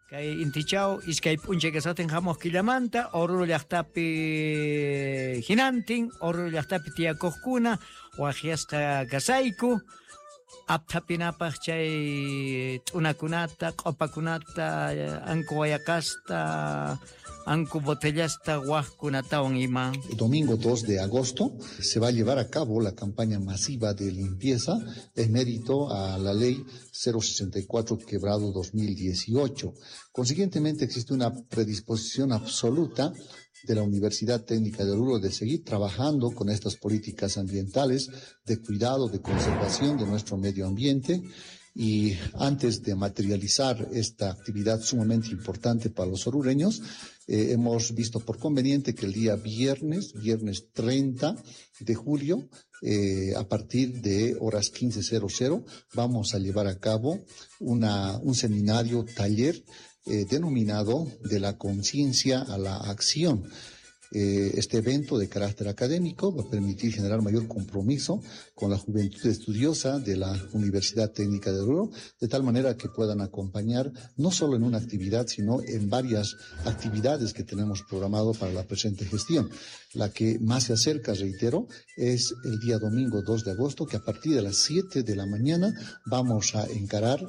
Kay intichaw iskay p'unchay kasaqtin hamuq killamanta Oruro llaqtapi hinantin Oruro llaqtapi tiyakuqkuna waqyasqa kasayku apthapinapaq chay t'unakunata, q'opakunata, anku wayaqasta, anku botellasta waqkunatawan ima. El domingo 2 de agosto se va a llevar a cabo la campaña masiva de limpieza en mérito a la ley 064 quebrado 2018. Consiguientemente existe una predisposición absoluta de la Universidad Técnica de Oruro de seguir trabajando con estas políticas ambientales de cuidado, de conservación de nuestro medio ambiente y antes de materializar esta actividad sumamente importante para los orureños, hemos visto por conveniente que el día viernes, viernes 30 de julio, a partir de horas 15:00, vamos a llevar a cabo un seminario taller denominado De la conciencia a la acción. Este evento de carácter académico va a permitir generar mayor compromiso con la juventud estudiosa de la Universidad Técnica de Oruro, de tal manera que puedan acompañar no solo en una actividad, sino en varias actividades que tenemos programado para la presente gestión. La que más se acerca, reitero, es el día domingo 2 de agosto, que a partir de las 7 de la mañana vamos a encarar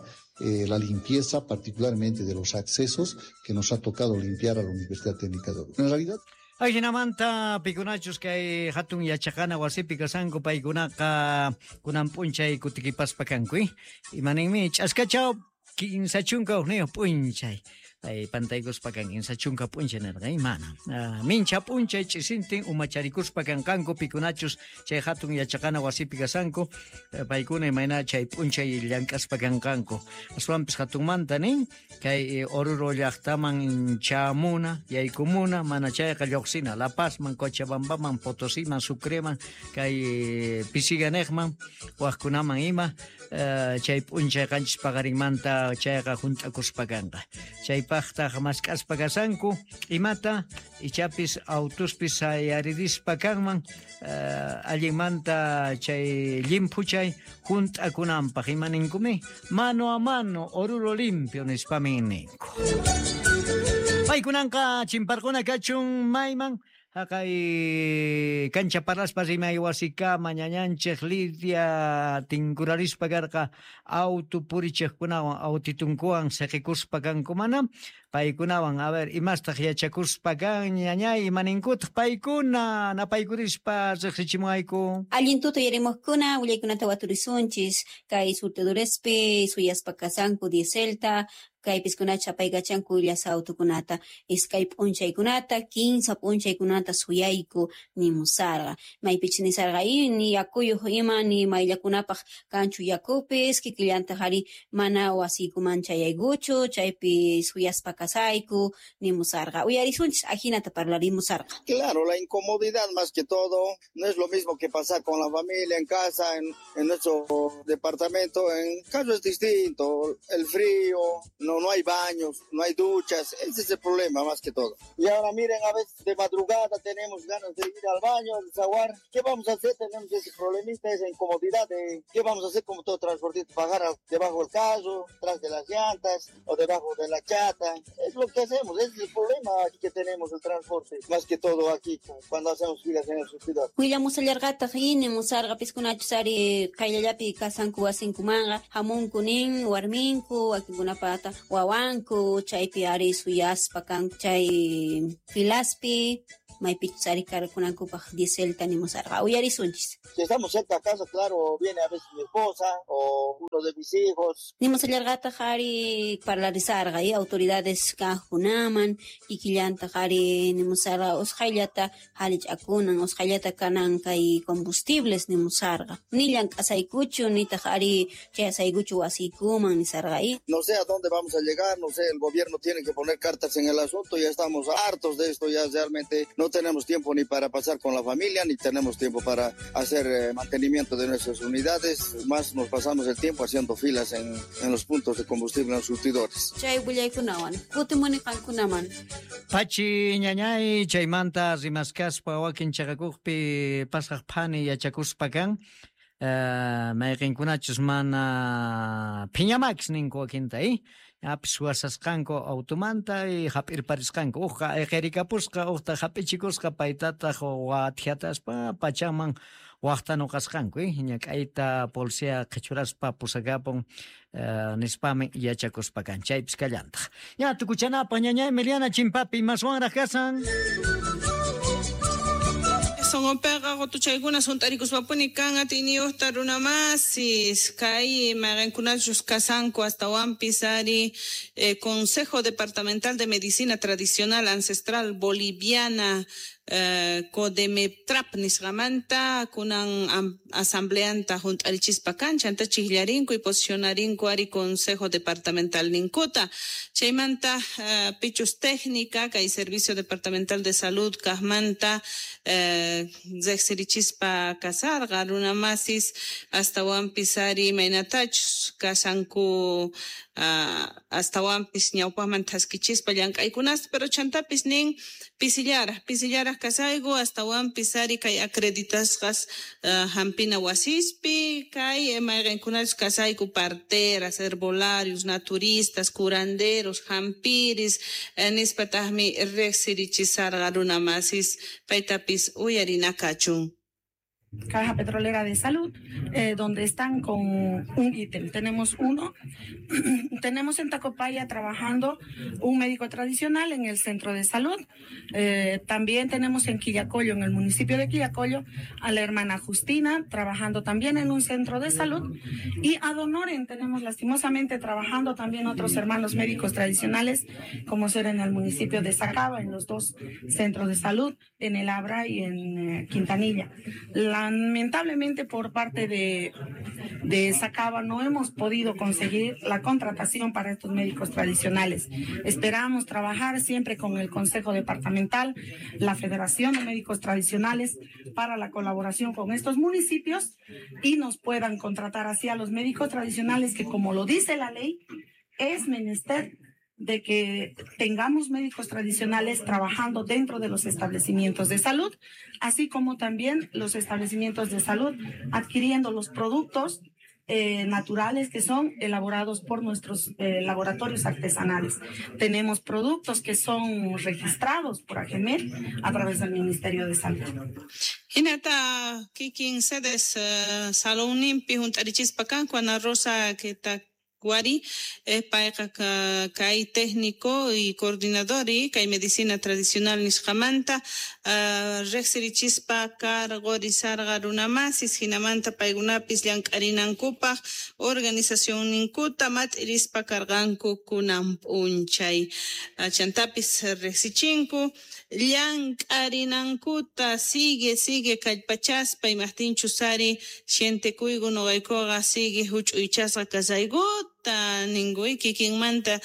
la limpieza, particularmente de los accesos que nos ha tocado limpiar a la Universidad Técnica de Oruro. En realidad, Ajinamanta pikunachus kay hatun yachaqana wasipi kasanku paykunaqa kunan p'unchay kutikipaspa kanku. Imaninmi ch'askachaw 31 p'unchay. Ay, pantaykuspa kan 30 p'unchay nirqa, mana. Mincha p'unchay ch'isintin umacharikuspa kanqanku pikunachus chay hatun yachaqana wasipi kasanku, paykuna imayna chay p'unchay llank'aspa kanqanku. Aswanpis hatunmanta nin kay Oruro llaqtaman chamuna, yaykumuna, mana chayqa lluqsina La Pazman, Cochabambaman, Potosiman, Sucreman, kay Pisiganejman, waqkunaman ima, chay p'unchay qanchis paqarinmanta chayqa hunt'akuspa kanqa. Chaypaqtaq mask'aspa kasanku imata ichapis autuspis sayaririspa kanman, allinmanta chay llimphuchay hunt'akunanpaq imaninkumi mano a mano Oruro limpio nispamin ninku. Paykunanqa chimparquna kachun mayman haqay kancha parlaspa rimay wasikama ñañanchej Lidia tinkurarispa karqa auto purichejkunawan autitunkuwan siqikuspa kanku mana paykunawan a ver imastaq yachakuspa kan ñañay imaninkutaq paykuna napaykurispa riqsichimuayku. Allin tuta yarimuqkuna willaykunata waturisunchis kay surtidorespi suyaspa kasanku dieselta kaypiskunacha apaykachanku llasa autokunata iskay p'unchaykunata 15 p'unchaykunata suyayku nimusarqa maypichus nisarqa ni yakuyuq ima ni mayllakunapaq kanchu yakupis kikillantaq ari mana wasiykuman chayaykuchu chaypi suyaspa kasayku nimusarqa uyarisunchis ajinata parlarimusarqa. Claro, la incomodidad más que todo, no es lo mismo que pasar con la familia en casa, en nuestro departamento, en caso es distinto, el frío, no hay baños, no hay duchas, ese es el problema más que todo. Y ahora miren, a veces de madrugada tenemos ganas de ir al baño, al desaguar, ¿qué vamos a hacer? Tenemos ese problemita, esa incomodidad de qué vamos a hacer como todo transportista, pagar debajo del carro, tras de las llantas o debajo de la chata. Es lo que hacemos, ese es el problema aquí que tenemos el transporte, más que todo aquí cuando hacemos filas en el surtidor. Willamusallarqataq ini musarqa piskunachus ari qayllallapi kasanku wasinkumanqa hamunku nin warminku wakinkunapata wawanku chaypi ari suyaspa kanku chay filaspi maypichus ari karkunankupaq dieselta nimusarqa uyarisunchis. Si estamos cerca a casa, claro, viene a veces mi esposa o uno de mis hijos. Nimusallarqataq ari parlarisarqa y autoridades kajkunaman kikillantaq ari nimusarqa usqhayllata halich'akunan usqhayllata kanan kay combustibles nimusarqa ni llank'asaykuchu nitaq ari chayasaykuchu wasiykuman nisarqa y. No sé a dónde vamos a llegar, no sé, el gobierno tiene que poner cartas en el asunto, ya estamos hartos de esto, ya realmente no tenemos tiempo ni para pasar con la familia, ni tenemos tiempo para hacer mantenimiento de nuestras unidades, más nos pasamos el tiempo haciendo filas en los puntos de combustible en los surtidores. Chay willaykunawan, kutimuni qankunaman. Pachi ñañay, chaymanta rimaskaspa wakin chaqakuqpi pasaq phani yachakuspa kan. Mayqinkunachus mana phiñamakis ninku wakinta, apis suwasasqanku automanta y hap'irparisqanku, uqqa ayqirikapusqa, uqta hap'ichikusqa, paytataq wathiataspa pachanman waqta nuqasqanku, ñak'ayta policía qhichuraspa pusakapun, nispami yachakuspa kan, chaypis kallantaq. Ña tukuchanapaq ñaña Emiliana chimpapi imaswanraq kasan. Sonqonpiqa qutuchaykuna sunt'arikuspapuni kan atiyniyuqta runamasis kay mayqinkunachus kasanku astawanpis ari Consejo Departamental de Medicina Tradicional Ancestral Boliviana Codemeptrap nisqamanta kunan asambleanta junt'arichispa kan chanta chijllarinku y posicionarinku ari Consejo Departamental ninkuta chaymanta pichus técnica kay Servicio Departamental de Salud kajmanta riqsirichispa kasarqa runamasis astawanpis ari imaynatachus kasanku astawanpis ñawpaqman thaskichispa llank'aykunasta pero chantapis nin pisillaraj kasayku astawanpis ari kay acreditasqas hampina wasispi kay mayqinkunachus kasayku parteras, herbolarios, naturistas, curanderos, hampiris nispataqmi riqsirichisarqa runamasis paytapis uyarinakachun. Caja Petrolera de Salud, donde están con un ítem. Tenemos uno, tenemos en Tacopaya trabajando un médico tradicional en el centro de salud. También tenemos en Quillacollo, en el municipio de Quillacollo, a la hermana Justina trabajando también en un centro de salud. Y a Donoren tenemos lastimosamente trabajando también otros hermanos médicos tradicionales, como ser en el municipio de Sacaba, en los dos centros de salud, en El Abra y en Quintanilla. Lamentablemente por parte de Sacaba no hemos podido conseguir la contratación para estos médicos tradicionales. Esperamos trabajar siempre con el Consejo Departamental, la Federación de Médicos Tradicionales para la colaboración con estos municipios y nos puedan contratar así a los médicos tradicionales que, como lo dice la ley, es menester de que tengamos médicos tradicionales trabajando dentro de los establecimientos de salud, así como también los establecimientos de salud adquiriendo los productos naturales que son elaborados por nuestros laboratorios artesanales. Tenemos productos que son registrados por AGEMED a través del Ministerio de Salud. Hinata kikin sedes salonninpi hunt'arichispa kanku Ana Rosa kita Guari, payqa kay técnico y coordinador y kay medicina tradicional nisqamanta riqsirichispa cargorisarqa runamasis hinamanta paykunapis llank'arinankupaq organización ninkuta mat'irispa karqanku kunan p'unchay chantapis riqsichinku llank'arinankuta sigue kallpachaspa imaqtinchus ari sientekuyku nuqaykuqa sigue huch'uychasqa kasaykuta ninkuy kikinmanta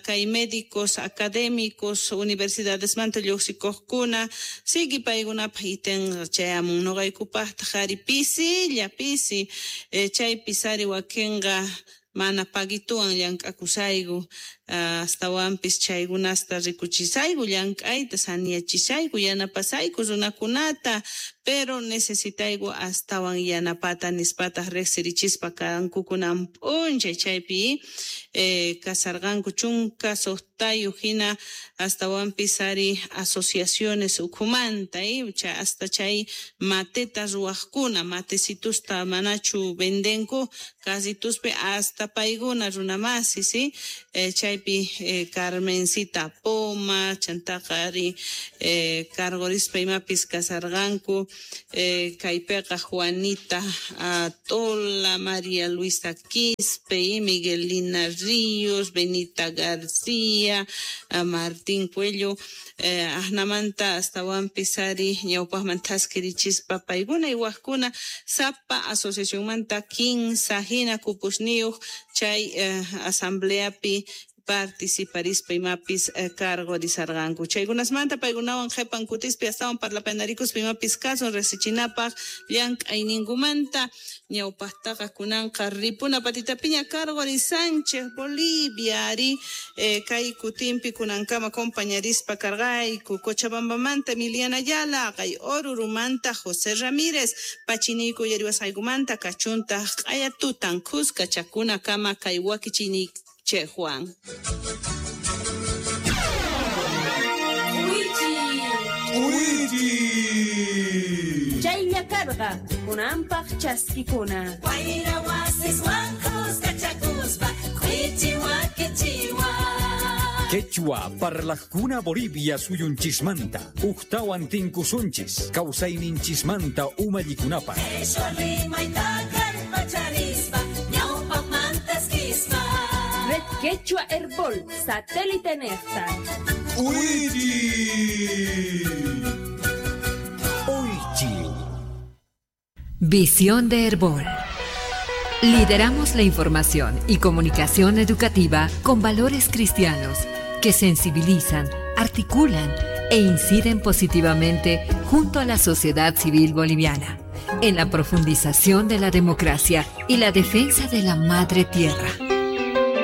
kay médicos académicos universidadesmanta lluqsikuqkuna sigue paykunapaq itenqa chayamun nuqaykupaqtaq ari pisilla pisi chaypis ari wakinqa mana paguituwan llank'akusayku astawanpis chaykunasta rikuchisayku llank'ayta saniyachisayku yanapasayku runakunata pero necesitayku astawan yanapata nispataq riqsirichispa kanku kunan p'unchay chaypi kasarqanku 16 hina astawanpis ari asociaciones ukhumanta hasta chay mateta ruwaqkuna matecitusta manachu vendenku casituspi hasta paykuna runamasi ¿sí? Chaypi Carmencita Poma chantaqa ari cargorispa imapis kasarqanku kaypiqa Juanita Tola, María Luisa Quispe, Miguelina Ríos, Benita García, Martín Cuello, ajnamanta astawanpis ari ñawpaqman thaskirichispa paykuna y wajkuna sapa asociacionmanta 15 hina kupusniyuq chay asambleapi participarispa imapis cargorisarqanku. Chaykunasmanta paykunawan qhipan kutispi astawan parlapanarikuspa imapis kasun riqsichinapaq llank'ayninkumanta ñawpaqtaqa kunanqa ripuna patitapiña cargorisanchik Bolivia ari kay kutinpi kunankama compañarispa karqayku Cochabambamanta Emiliana Ayala, kay Orurumanta José Ramírez, pachiniyku uyariwasqaykumanta kachuntaq q'aya tutan khuska chakunakama kay wakichiyninchikwan. Chaylla karqa kunanpaq chaskikuna. Wayra wasiswan khuskachakuspa k'uichi wakichiwan. Quechua parlajkuna Bolivia suyunchismanta ujtawan tinkusunchis kawsayninchismanta umallikunapaq. Qheshwa rimayta kallpacharispa ñawpaqmanta eskispa. Red Quechua Herbol, satélite nefta. Uychi. Visión de Herbol. Lideramos la información y comunicación educativa con valores cristianos que sensibilizan, articulan e inciden positivamente junto a la sociedad civil boliviana en la profundización de la democracia y la defensa de la madre tierra.